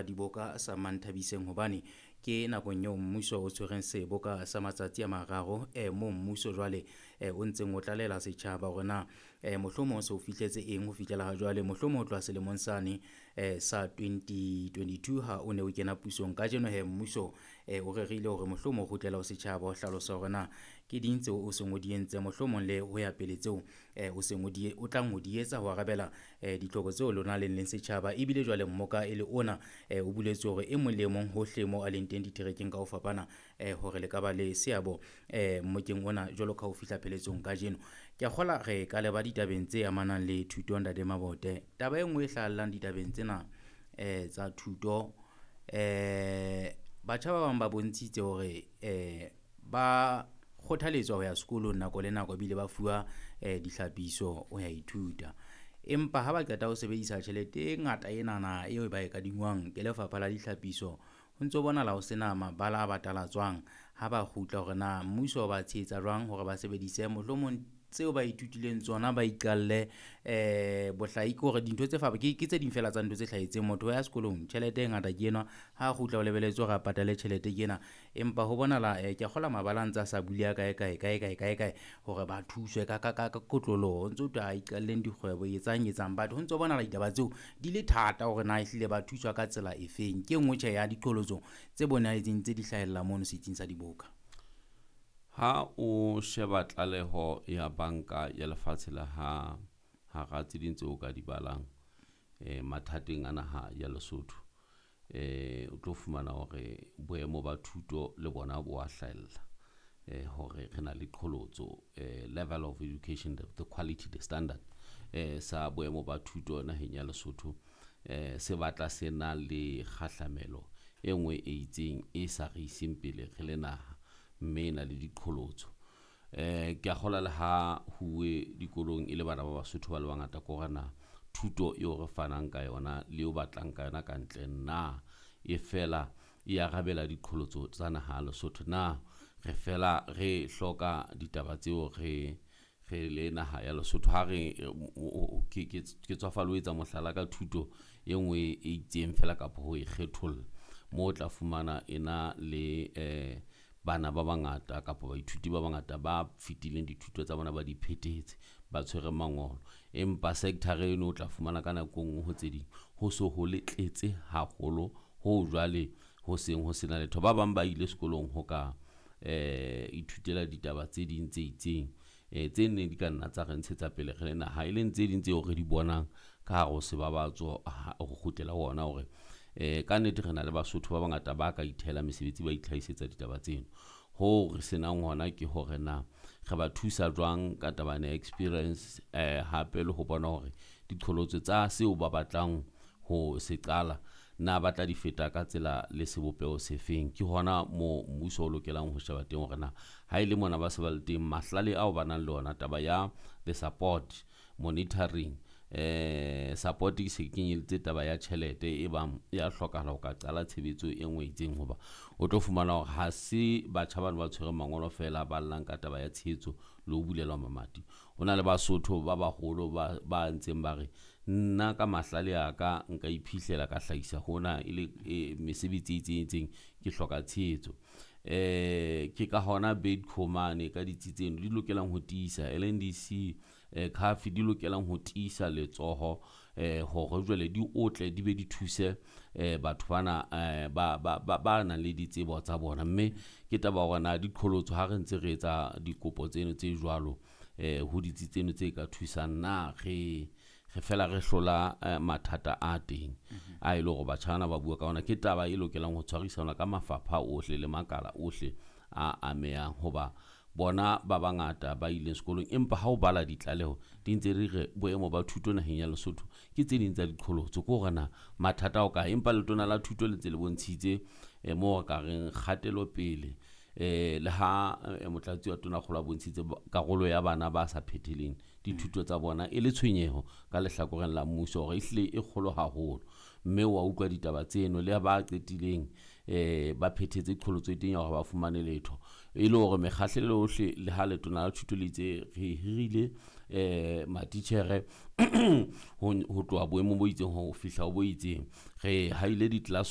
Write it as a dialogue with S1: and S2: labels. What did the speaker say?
S1: sa diboka sa Manthabiseng, hobane ke nakong eo mmuso o tshwereng seboka sa matsatsi a mararo, moo mmuso jwale o ntseng o tlalela setjhaba hore na mohlomong o se o fihletse eng ho fihlela ha jwale, mohlomong ho tloha selemong sane sa 2022 ha o ne o kena pusong. Kajeno he mmuso o rerile hore mohlomong o kgutlela ho setjhaba ho hlalosa hore na ke ding tseo o seng o di entse, mohlomong le ho ya pele tseo o seng o di o tlang ho di etsa ho arabela ditlhoko tseo lona leng leng setjhaba. Ebile jwale mmoka e le ona o buletswe hore e mong le e mong hohle moo a leng teng diterekeng ka ho fapana, hore le ka ba le seabo mmokeng ona jwalo ka ho fihla pheletsong kajeno. Ke a kgola re ka leba ditabeng tse amanang le thuto, Ntate Mabote. Taba e nngwe e hlahellang ditabeng tsena tsa thuto, batjha ba bang ba bontshitse hore ba kgothaletswa ho ya sekolong nako le nako ebile ba fuwa dihlapiso ho ya ithuta. Empa ha ba qeta ho sebedisa tjhelete e ngata enana eo ba e kadingwang ke lefapha la dihlapiso, ho ntso bonahala ho sena mabala a batalatswang ha ba kgutla hore na mmuso o ba tshehetsa jwang hore ba sebedise mohlomong tseo ba ithutileng tsona, ba iqalle bohlai ke hore dintho tse ke tse ding feela tsa ntho tse hlahetseng. Motho o ya sekolong, tjhelete e ngata ke enwa, ha kgutla o lebelletse hore a patale tjhelete ke ena. Empa ho bonahala ke a kgolwa mabala a ntse a sa buleha kae, kae, kae, kae, kae, kae hore ba thuswe ka kotloloho. Ho ntso thwe a iqalleng dikgwebo, etsang, etsang. But ho ntso bonahala ditaba tseo di le thata hore na ehlile ba thuswa ka tsela efeng. Ke e nngwe tjhe ya diqholotso tse bonahetseng tse di hlahella mono setsing sa diboka.
S2: Ha o sheba tlaleho ya banka ya lefatshe la ha hara tse ding tseo o ka di balang mathateng a naha ya Lesotho, o tlo fumana hore boemo ba thuto le bona bo a hlahella, hore re na le qholotso, level of education, the quality, the standard sa boemo ba thuto naheng ya Lesotho se batla se na le kgahlamelo e nngwe e itseng e sa re iseng pele re le naha, mme e na le diqholotso. Ke a kgolwa le ha huwe dikolong e le bana ba Basotho ba le bangata, ke hore na thuto eo re fanang ka yona le eo batlang ka yona ka ntle na e fela e arabela diqholotso tsa naha ya Lesotho, na re fela re hloka ditaba tseo re le naha ya Lesotho. Ha re ke tswafale ho etsa mohlala ka thuto e nngwe e itseng fela kapa ho e kgetholla, moo o tla fumana e na le bana ba bangata kapa baithuti ba bangata ba fetileng dithuto tsa bona ba di phethetse, ba tshwere mangolo, empa sector eno o tla fumana ka nako e nngwe ho tse ding ho so ho le tletse haholo ho jwale ho seng ho sena letho. Ba bang ba ile sekolong ho ka ithutela ditaba tse ding tse itseng tse neng di ka nna tsa re ntshetsa pele re le naha, e leng tse ding tseo re di bonang ka hare ho sebabatso ho kgutlela ho ona hore ka nnete re na le Basotho ba bangata ba ka ithehela mesebetsi, ba itlhahisetsa ditaba tseno. Ho re senang hona ke hore na re ba thusa jwang ka taba ya experience, hape le ho bona hore diqholotso tsa seo ba batlang ho se qala na ba tla di feta ka tsela le sebopeho se feng. Ke hona moo mmuso o lokelang ho sheba teng hore na ha e le mona ba se ba le teng mahlale ao ba nang le ona, taba ya the support monitoring, support e se kenyeletse taba ya tjhelete e bang ya hlokahala ho ka qala tshebetso e nngwe e itseng, hoba o tlo fumana hore ha se batjha bano ba tshwereng mangolo feela ba llang ka taba ya tshehetso le ho bulelwa mamati. Ho na le Basotho ba baholo ba ntseng ba re nna ka mahlale a ka nka iphihlela ka hlahisa hona e le mesebetsi e itseng itseng, ke hloka tshehetso. Ke ka hona Bidco mane ka ditsi tseno di lokelang ho tiisa, LNDC, CAF di lokelang ho tiisa letsoho hore jwale di otle di be di thuse batho bana ba nang le ditsebo tsa bona. Mme ke taba hore na diqholotso ha re ntse re etsa dikopo tseno tse jwalo ho ditsi tseno tse ka thusang, na re fela re hlola mathata a teng a e le hore batjha bana ba bua ka ona. Ke taba e lokelang ho tshwarisana ka mafapha ohle le makala ohle a amehang, hoba bona ba bangata ba ileng sekolong, empa ha o bala ditlaleho di ntse di re boemo ba thuto naheng ya Lesotho ke tse ding tsa diqholotso, ke hore na mathata ao kae. Empa letona la thuto le ntse le bontshitse moo re ka reng kgatelopele, le ha motlatsi wa tonakgolo a bontshitse karolo ya bana ba sa phetheleng dithuto tsa bona e le tshwenyeho ka lehlakoreng la mmuso hore ehlile e kgolo haholo, mme wa utlwa ditaba tseno le ba qetileng ba phethetse qholotso e teng ya hore ba fumane letho, e le hore mekgahlelo yohle le ha letona la thuto le itse re hirile matitjhere ho tloha boemong bo itseng ho fihla ho bo itseng, re haile di-class.